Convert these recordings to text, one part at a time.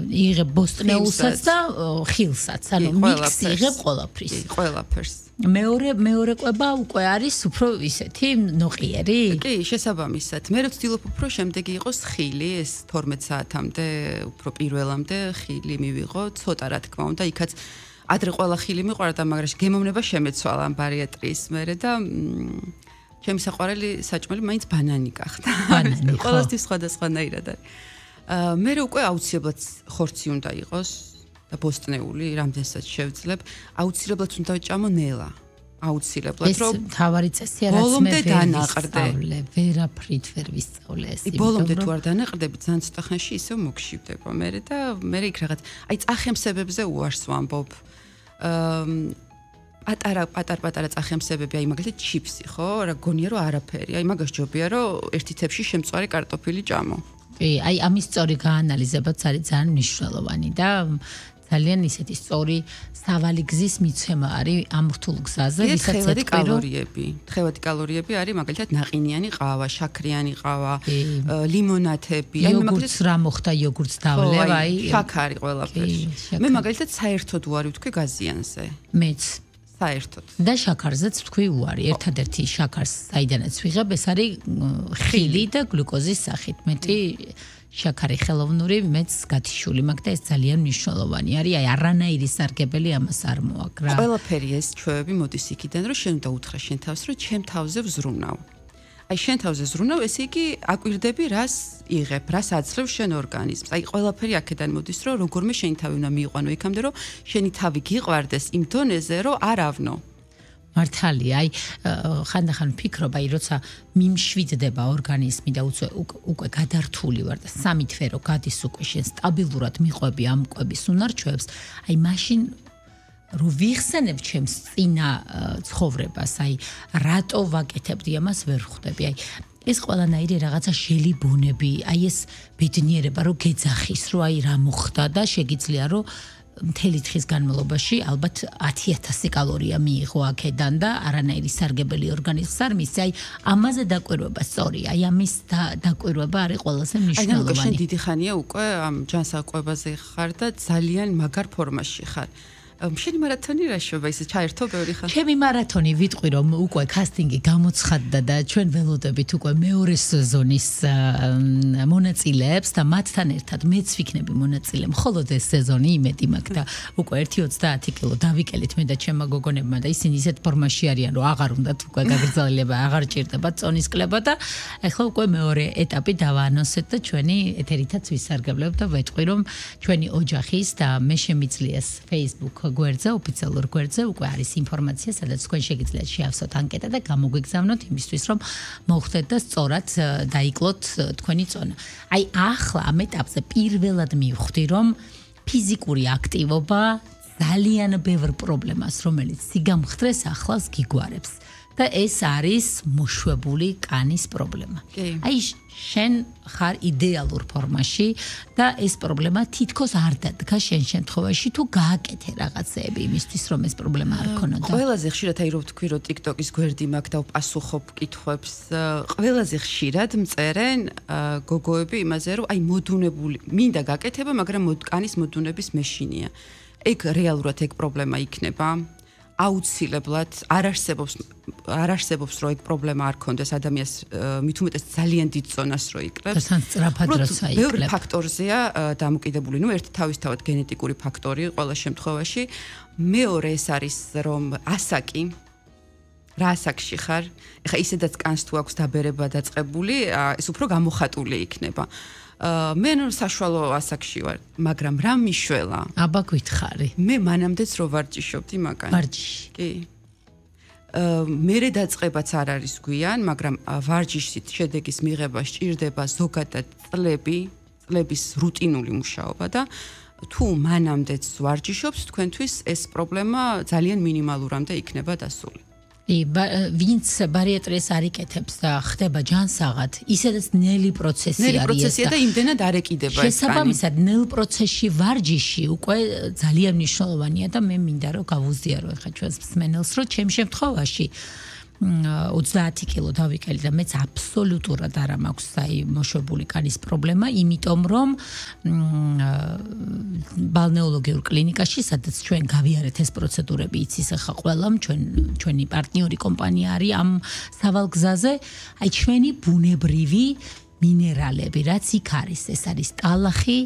იღებ ბოსტნეულსაც და ხილსაც, ანუ მიქსი იღებ ყველაფრის. ყველაფერს. მეორე კვება უკვე არის უფრო ისეთი ნოყიერი? კი, შესაბამისად. მე ვცდილობ უფრო შემდეგი იყოს ხილი, ეს 12 საათამდე, უფრო პირველამდე ხილი მივიღო, ცოტა რა თქმა უნდა, იქაც ადრე ყველა ხილი მიყვარდა, მაგრამ გემოვნება შემეცვალა ამ ბარიატრიის მერე და ჩემი საყვარელი საჭმელი მაინც ბანანი გახდა. ბანანი, ხო. ყველასთვის სხვადასხვანაირად არის. მე უკვე აუცილებლად ხორცი უნდა იყოს და ბოსტნეული, რამდენსაც შევძლებ, აუცილებლად უნდა ვჭამო ნელა. აუცილებლად, რომ ეს თავარი წესია, რაც მე ვისწავლე, ვერაფრით ვერ ვისწავლე ეს. ბოლომდე თუ არ დანაყრდები, ძალიან ცოტა ხანში ისევ მოგშივდება მე და მე იქ რაღაც, აი წახემსებებზე უარს ვამბობ. პატარ-პატარა წახემსებები, აი მაგალითად ჩიფსი, ხო? რა გონია რომ არაფერი. აი მაგას ჯობია რომ ერთი თებში შემწვარი კარტოფილი ჭამო. კი, აი ამის სწორი გაანალიზებაც არის ძალიან მნიშვნელოვანი და ძალიან ისეთი სწორი სავალი გზის მიცემა არის ამ რთულ გზაზე, ვისაც თხევადი კალორიები არის მაგალითად ნაყინიანი ყავა, შაქრიანი ყავა, ლიმონათები, აი მაგალითად რა მოხდა იოგურტს დავლევ, აი შაქარი ყველაფერში. მე მაგალითად საერთოდ უარი ვთქვი გაზიანზე. მეც საერთოდ. და შაქარზეც ვთქვი უარი. ერთადერთი შაქარს საიდანაც ვიღებ, ეს არის ხილი და გლუკოზის სახით. მეტი შაქარი ხელოვნური მეც გათიშული მაქვს და ეს ძალიან მნიშვნელოვანი არის. აი არანაირი სარგებელი ამას არ მოაქვს რა. ყველაფერი ეს ჩვევები მოდის იქიდან, რომ შენ უნდა უთხრა შენ თავს, რომ ჩემ თავზე ვზრუნავ. აი შენ თავზე ზრუნავ, ესე იგი აკვირდები რას იღებ, რას აძლევ შენ ორგანიზმს. აი ყველაფერი აქედან მოდის, რომ როგორმე შენი თავი უნდა მიიყვანო იქამდე, რომ შენი თავი გიყვარდეს იმ დონეზე, რომ არ ავნო. მართალია, აი ხანდახან ვფიქრობ, აი როცა მიმშვიდდება ორგანიზმი და უკვე გადართული ვარ და სამი თვე რო გადის უკვე შენ სტაბილურად მიყვები ამ კვების უნარჩვევებს, აი მაშინ რო ვიხსენებ ჩემს წინა ცხოვრებას, აი რატო ვაკეთებდი ამას ვერ ხვდები. აი ეს ყველანაირი რაღაცა შელიბონები, აი ეს ბედნიერება რო გეძახის, რო აი რა მოხდა და შეგიძლია რომ მთელი დღის განმავლობაში ალბათ 10,000 კალორია მიიღო აქედან და არანაირი სარგებელი ორგანიზმს არ მისცე. აი ამაზე დაკვირვება სწორია. აი ამის დაკვირვება არის ყველაზე მნიშვნელოვანი. აი შენ დიდი ხანია უკვე ამ ჯანსაღყვებაზე ხარ და ძალიან მაგარ ფორმაში ხარ. შენი მარათონი რა შევა ისე ჩაერთო ბევრი ხანი? ჩემი მარათონი ვიტყვი რომ უკვე კასტინგი გამოცხადდა და ჩვენ ველოდებით უკვე მეორე სეზონის მონაწილეებს და მათთან ერთად მეც ვიქნები მონაწილე. მხოლოდ ეს სეზონი იმედი მაქვს და უკვე 1.30 კილო დავიკელით მე და ჩემმა გოგონებმა და ისინი ისეთ ფორმაში არიან რომ აღარ უნდათ უკვე გაგრძელება, აღარ ჭირდება წონის კლება და ახლა უკვე მეორე ეტაპი დავაანონსეთ და ჩვენი ეთერითაც ვისარგებლებ და ვეტყვი რომ ჩვენი ოჯახის და მე შემიძლიეს Facebook გვერდზე, ოფიციალურ გვერდზე უკვე არის ინფორმაცია, სადაც თქვენ შეგიძლიათ შეავსოთ ანკეტა და გამოგვიგზავნოთ იმისთვის, რომ მოხვდეთ და სწორად დაიკლოთ თქვენი წონა. აი ახლა ამ ეტაპზე პირველად მივხვდი, რომ ფიზიკური აქტივობა ძალიან ბევრ პრობლემას, რომელიც სიგამხდრეს ახლავს გიგوارებს. და ეს არის მოშვებული კანის პრობლემა. აი შენ ხარ იდეალურ ფორმაში და ეს პრობლემა თითქოს არ დადგა შენ შემთხვევაში თუ გააკეთე რაღაცეები იმისთვის რომ ეს პრობლემა არ ქონოდა. ყველაზე ხშირად აი რო ვთქვი რომ TikTok-ის გვერდი მაქვს და ვპასუხობ კითხვებს, ყველაზე ხშირად მწერენ გოგოები იმაზე რომ აი მოდუნებული მინდა გაკეთება, მაგრამ კანის მოდუნების მეშინია. ეგ რეალურად ეგ პრობლემა იქნება. აუცილებლად არ არსებობს რომ ეგ პრობლემა არ ქონდეს ადამიანს მით უმეტეს ძალიან დიდ ზონას რო იკლებს. და სწრაფად როცა იკლებს. ბევრი ფაქტორზეა დამოკიდებული. ნუ ერთი თავისთავად გენეტიკური ფაქტორი ყველა შემთხვევაში. მეორე ეს არის რომ ასაკი რა ასაკში ხარ? ეხა ისედაც კანს თუ აქვს დაბერება დაწყებული, ეს უფრო გამოხატული იქნება. მე ნუ საშუალო ასაკში ვარ, მაგრამ რა მიშველა? აბა გითხარი. მე მანამდეც რო ვარჯიშობდი მაგან. ვარჯიში. კი. მერე დაწყებაც არ არის გვიან, მაგრამ ვარჯიშით შედეგის მიღება სჭირდება ზოგადად წლების რუტინული მუშაობა და თუ მანამდეც ვარჯიშობს, თქვენთვის ეს პრობლემა ძალიან მინიმალურამდე იქნება დასული. ვინც ბარიატრიას არ იკეთებს და ხდება ჯანსაღად, ისედაც ნელი პროცესი არის. ნელი პროცესია და იმდენად არ ეკიდება ეს კანი. შესაბამისად, ნელ პროცესში ვარჯიში უკვე ძალიან მნიშვნელოვანია და მე მინდა რომ გავუზიარო ახლა ჩვენს მსმენელს, რომ ჩემ შემთხვევაში 30 კილო დავიკელი და მეც აბსოლუტურად არ მაქვს აი მოშვებული კანის პრობლემა, იმიტომ რომ ბალნეოლოგიურ კლინიკაში, სადაც ჩვენ გავიარეთ ეს პროცედურები, იცის ახლა ყველამ, ჩვენი პარტნიორი კომპანია არის ამ სავალგზაზე, აი ჩვენი ბუნებრივი მინერალები, რაც იქ არის, ეს არის ტალახი,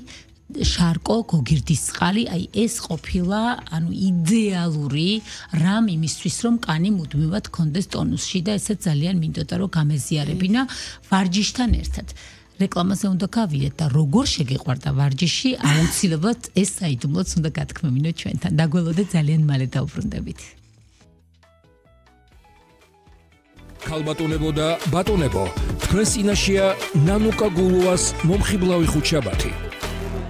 შარკო, გოგირდის წყალი, აი ეს ყოფილა, ანუ იდეალური რამ იმისთვის, რომ კანი მუდმივად კონდეს ტონუსში და ესეც ძალიან მინდოდა რომ გამეზიარებინა ვარჯიშთან ერთად. რეკლამაზე უნდა გავიდეთ და როგორ შეგეყვარდა ვარჯიში, აუცილებლად ეს საიდუმლოც უნდა გათქმევინოთ ჩვენთან. დაგველოდეთ ძალიან მალე დავბრუნდებით. ქალბატონებო და ბატონებო, თქვენ წინაშეა ნანუკა გულუას მომხიბლავი ხუთშაბათი.